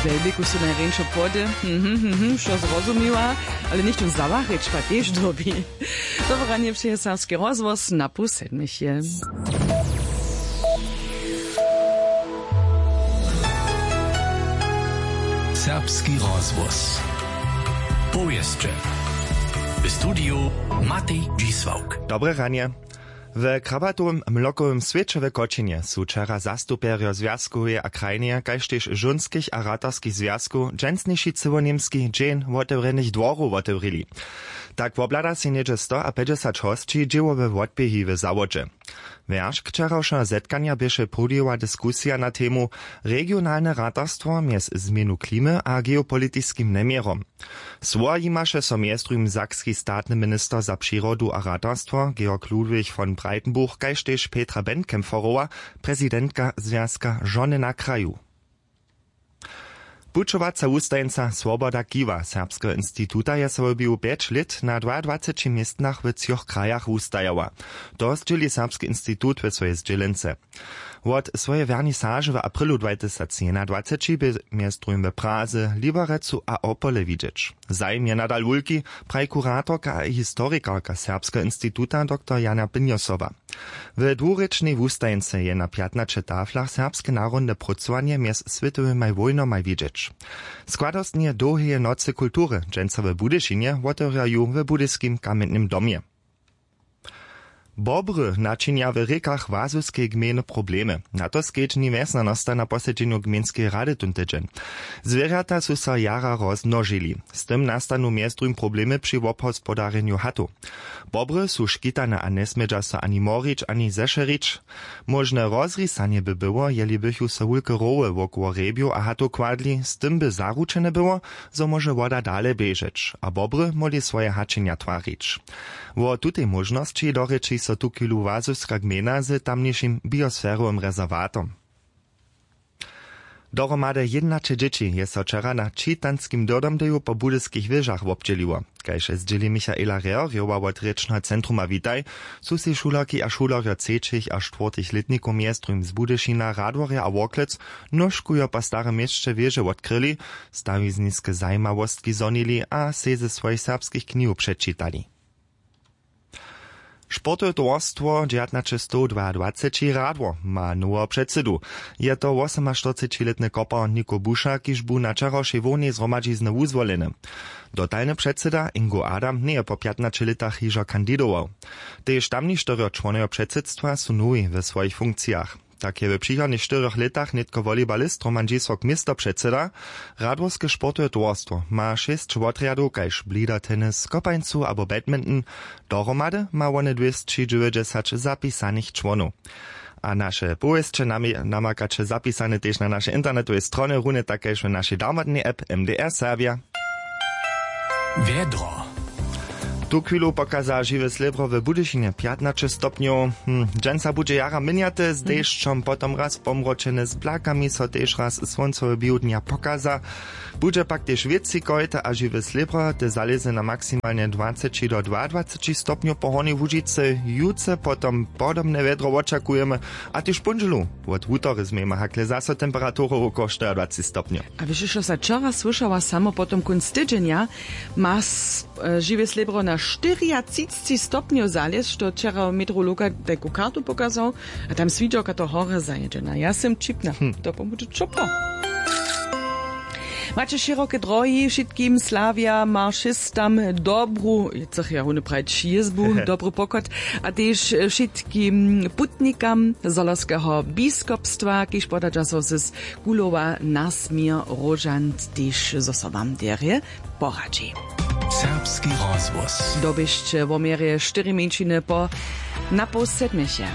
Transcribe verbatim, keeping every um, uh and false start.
Delbiku su najrjeńšo płody. Mhm, mhm, wšo zrozumiła. Ale něchtó zawahrić pa tež dyrbi. Dobre ranje přeje serbski rozhłos na pół sedmich je. Serbski rozhłos. Powěsće. W studiju Matej Dźisławk. Dobre ranje. W krabatowym mlokowym swěće w Kočinje su wčera zastupjerjo zwjazkoweje a krajneje kaž tež žónskich a ratarskich zwjazkow dźensniši cyłoněmski dźeń wotewrjenych dworow wotewrili. Tak wobhlada sej něhdźe stoapjećdźesat hosći dźěłowe wotběhi w zawodźe. Wjeršk wčerawšeho zetkanja běše prudźiła diskusija na temu regionalne ratarstwo mjez změnu klimy a geopolitiskim njeměrom. Słowa jimaše so mjez druhim sakski statny minister za přirodu a ratarstwo Georg Ludwig von Breitenbuch kaž tež Petra Benkämpferowa, prezidentka Zwjazka žony na kraju. Pućowaca wustajeńca Swoboda Kiwa Serbskeho instituta je so w běhu pjeć lět na dwaadwaceći městnach w třoch krajach wustajała. To zdźěli Serbski institut w swojej zdźělence. Wot swojej wernisaže w aprilu dwatysacjedwajceći bě mjez druhim w Praze, Liberecu a Opole widźeć. Zajim je nadal wulki, praji kuratorka a historikarka Serbskeho instituta doktor Jana Pynjosowa. W dwurěčnej wustajeńce je na pjatnaće taflach serbske narodne prócowanje mjez swětowymaj wójnomaj widźeć. Składostnje dołheje nocy kultury dźensa w Budyšinje wotewrja ju w Budyskim kamjentnym domje. Bobry načinja w rěkach Łazoskej gmejny problemy. Na to skedźbni wjesnjanosta na posedźenju gmejnskeje rady tón tydźeń. Zwěrjata su so jara rozmnožili. Z tym nastanu mjez druhim problemy při wobhospodarjenju hatow. Bobry su škitane a njesmědźa so ani morić, ani zešerić. Móžne rozrisanje by było, jeli bychu so wulke rowy wokoło hrjebjow a hatow kładli, z tym by zaručene było, zo móže woda dale běžeć a bobry móhli swoje haćenja twarić. Wo tutej móžnosći dorěči so tuchwilu Łazowska gmejna z tamnišim biosferowym rezerwatom. Dohromady jědnaće dźěći je so wčera na čitanskim dyrdomdeju po budyskich wěžach wobdźěliło. Kaž zdźěli Michaela Rehrjowa wot rěčneho centruma Witaj, su sej šulerki a šulerjo třećich a štwórtych lětnikow mjez druhim z Budyšina, Radworja a Worklec nóžkujo po starym měsće wěže wotkryli, stawizniske zajimawostki zhonili a sej ze swojich serbskich knihow předčitali. Sportowe towarstwo dźewjatnaćestowdwaadwaceći Radwor ma noweho předsydu. Je to wosomaštyrcećilětny kopar Niko Buša, kiž bu na wčerawšej hłownej zhromadźizny wuzwoleny. Dotalny předsyda Ingo Adam njeje po pjatnaće lětach hižo kandidował. Tež tamništyrjo čłonojo předsydstwa su nowi we swojich funkcijach. Tak je w přichodnych štyrjoch lětach nětko wolibalist Roman Dźisławk městopředsyda. Radworske sportowe towarstwo ma šěsć wotrjadow kaž blida tennis, kopańcu abo badminton. Dohromady ma wone dwěsćidźewjećdźesać zapisanych čłonow. A naše powěsće nami-, namakaće zapisane tež na našej internetowej stronje, runje tak kaž w našej darmotnej app M D R Serbja. Wjedro. Tuchwilu pokaza žiwe slěbro w Budyšinje pjatnaće stopnjow. Hm, dźensa budźe jara měnjate, z dešćom potom raz pomročene, z blakami so tež raz słóncowe biwdnja pokaza. Budźe pak tež wětři kojt a žiwe slěbro te zalěze na maksimalnje dwaceći do dwaadwaceći stopnjow po Hornjej Łužicy. Jutře potom podobne wjedro wočakujemy, a tež póndźelu wot wutory změjemy hakle zaso temperaturu wokoło štyriadwaceći stopnjow. A wěš, što sa wčera słyšała, samo potom kónc tydźenja ma s-, e, žiwe slěbro na štyriatřicci stopnjow zalězć, što wčera meteorologa tajku kartu pokazał, a tam swidźawka to horje zajědźena. Ja sym ćipna. Hm. To pomóže ćopło. Maće šěroke drohi, wšitkim sławjam, maršistam dobru, chcych ja runje prajić jězbu, dobry pochod, a tež wšitkim putnikam Zhorjelskeho biskopstwa, kiž poda časow z Kulowa na směr Róžant tež zo so wam derje poradźi. Serbski rozhłos. Doběšće wo měrje štyri mjeńšiny po na poł sedmjeje.